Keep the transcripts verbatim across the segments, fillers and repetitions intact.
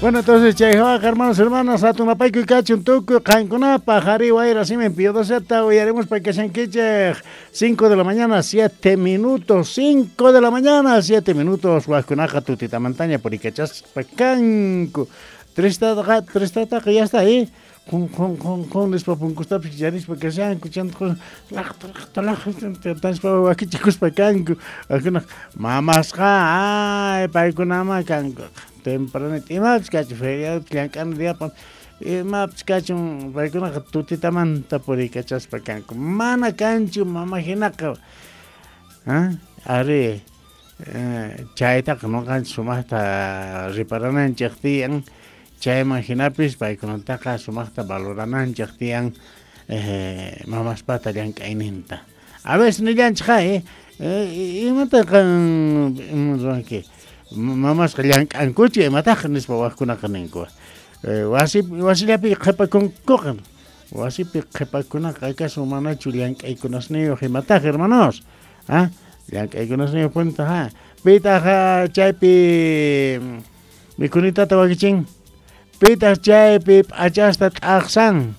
Bueno, entonces, chay hermanos, hermanas, atunapayku kachun tukuy qankunapaq ari wayra simen piodoseta uyaremos pa kashankichej cinco de la mañana, siete minutos, cinco de la mañana, siete minutos, wajkunaqa tutitamantaña purikachaspa kanku. Tristataqa, tristataqa ya está ahí. Jun, jun, jun, jun, nispa punkustapis yarispa kashanku, chanta laqta, laqta, laqta, tanispa wakichikuspa kanku. Wajkunaq mamasqa, ay, paykunama kanku. Tempranito, imapis kachun feriado llank'ana diapan, imapis kachun paykunaqa tutitamanta purikachaspa kanku. Mana kanchu mama hinaqa. ¿Ah? Ari, eh, chaytaqa nuqanchik sumaqta riparananchik tiyan, chayman hinapis paykunataqa sumaqta valorananchik tiyan eh, mamaspata llank'ayninta. A veces nillanchik eh, eh, imataqa ruwanki mamasqa llank'ankuchu imataq nispa wajkunaqa ninku. Eh, wasi wasillapi qhipakunkuqa wasipi qhipakunaqa acaso manachu llank'aykunasniyuq imataq hermanos. ¿Ah? Llank'aykunasniyuq punta ha. Pitaq chaypi mikhunitata wakichin, pitaq chaypi p'achasta t'aqsan,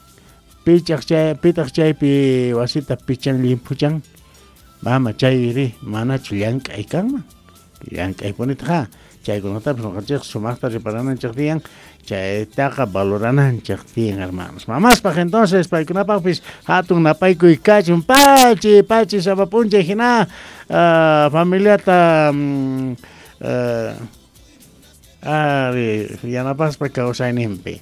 pichaq chay pitaq chaypi wasita pichan llimphuchan. Mama chayri manachu llank'ay kanman. Llank'aypunitaq ha. Chaykunatapas nuqanchik sumaqta riparananchik tiyan, chaytaqa valorananchik tiyan hermanos. Mamaspaq entonces paykunapaqpis hatun napaykuy kachun pachi pachi sapa p'unchay hina uh, familiata um, uh, ari yanapaspa kawsayninpi.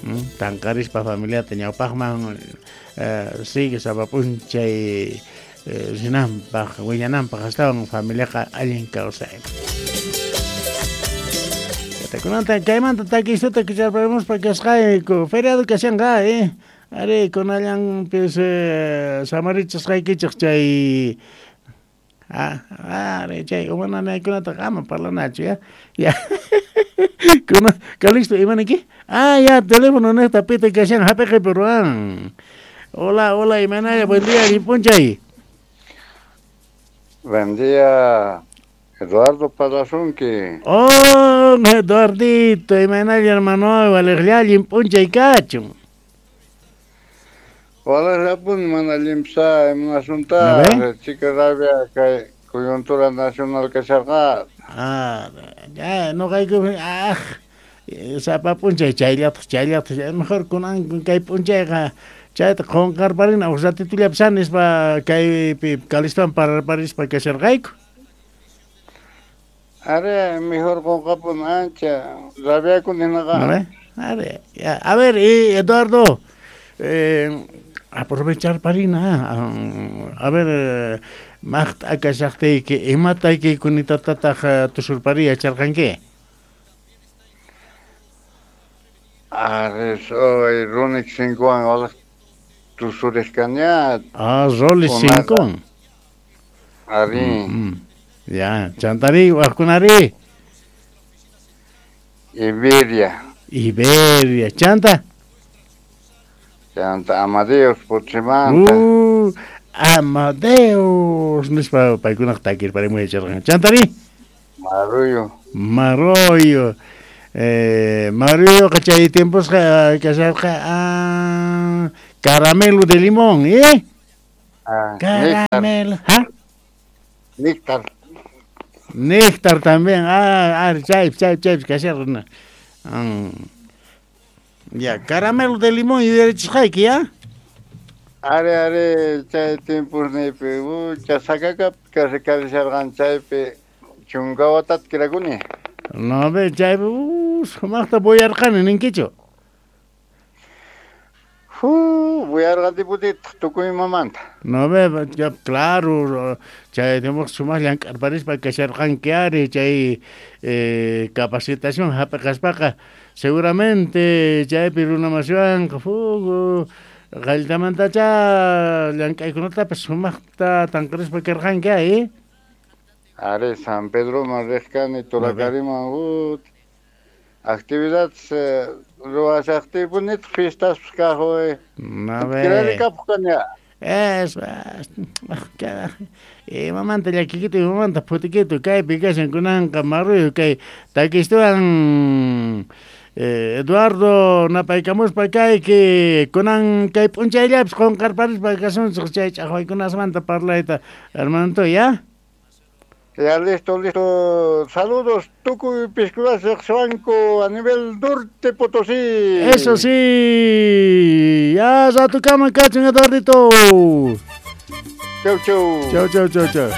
Mm, tanqarispa familiata ñawpaqman uh, sigue sapa p'unchay rinanpaq willananpaq astawan familiaqa allin kawsay. Kunanta kaymanta takistuta kucharpamuspa kasqayku feriado kashanqa eh ari kunallanpis eh, samarichasqaykichik chay ah ari chay umananaykunata ama parlanachu ya ya kuna Calixto imaniki ah ya teléfono niqta pita kashan hapiqipi ruwan. Hola, hola imanaya, buen día llimp'unchay. Buen día, Eduardo Palasunki. Oh, Eduardito, imanalla hermano, valeqlla llimp'unchay kachun. Valeqllapuni mana llimpsa imunasunta, chica rabia kay coyuntura nacional kasharqa. Ah, ya, nuqayku, ah, sapa p'unchay chayllataq, chayllataq, mejor kunan kay p'unchayqa chayta qunqarparina huk ratitullapi nispa kaypi Calistowan pararparispa kasharqayku. Are, mejor qunqapun ancha rabiakuni hinaqa. A ver, a ver, ya, a ver, y Eduardo, eh, aprovechar parina, a ver, maqt'a kashaqtiyki imatayki kunitatataq tusurpari yacharqanki? Are, soy Rolex cincowan waqaq tusurishkaña. Ah, Rolex cincowan. Ari. Mm, ya, chantari, waqkunari. Iberia. Iberia, chanta. Chanta Amadeus Puchimanta. Uh, Amadeus nispa paykunaq takirparimuy yacharqan. Chantari. Marullo. Marullo. Eh, Marullo chay tiemposqa kasharqa ah, caramelo de limón, ¿eh? Ah, caramelo, ¿ah? Néctar. Néctar también. Ah, ah, chay, chay, chay, kasharqa. Mm. Ya, caramelo de limón y derechos ¿ya? Are, are, chay tiempos nipi, chasakaka kasharqan chaypi chunkawatat kirakuni. No, ve, chay, uh, sumaqta buyarqani ninkichu. Fu, buyarqani putitaq tukuy mamanta. No, ve, ya, claro, chay tiempos sumaq llank'arparispa kasharqanki ari, chay eh, capacitación hap'iqaspaqa seguramente chaypi runamasiwanqa fugu qallitamantacha llank'aykunatapas sumaqta tanqarispa karqanki eh? Are, San Pedroman riqkani Tulacariman uh, actividades eh, ruwashaqtiypunitaq fiestaspas kaq eh. No, ve. Kirarikapuq kani. Es, imamanta llakikitu, imamanta phutikitu, kaypi kashan kunanqa marruyo kay takistuwan Eh, Eduardo napaykamuspa kayki kunan kay p'unchayllapis qunqarparispa kasunchik chay ch'aqwaykunasmanta parlayta, hermanito, ya? Ya, listo, listo. Saludos, tukuy piskulas riqsiwanku a nivel norte Potosí. Eso sí. Ya ratukama kachun, Eduardito. Chau, chau. Chau, chau, chau, chau.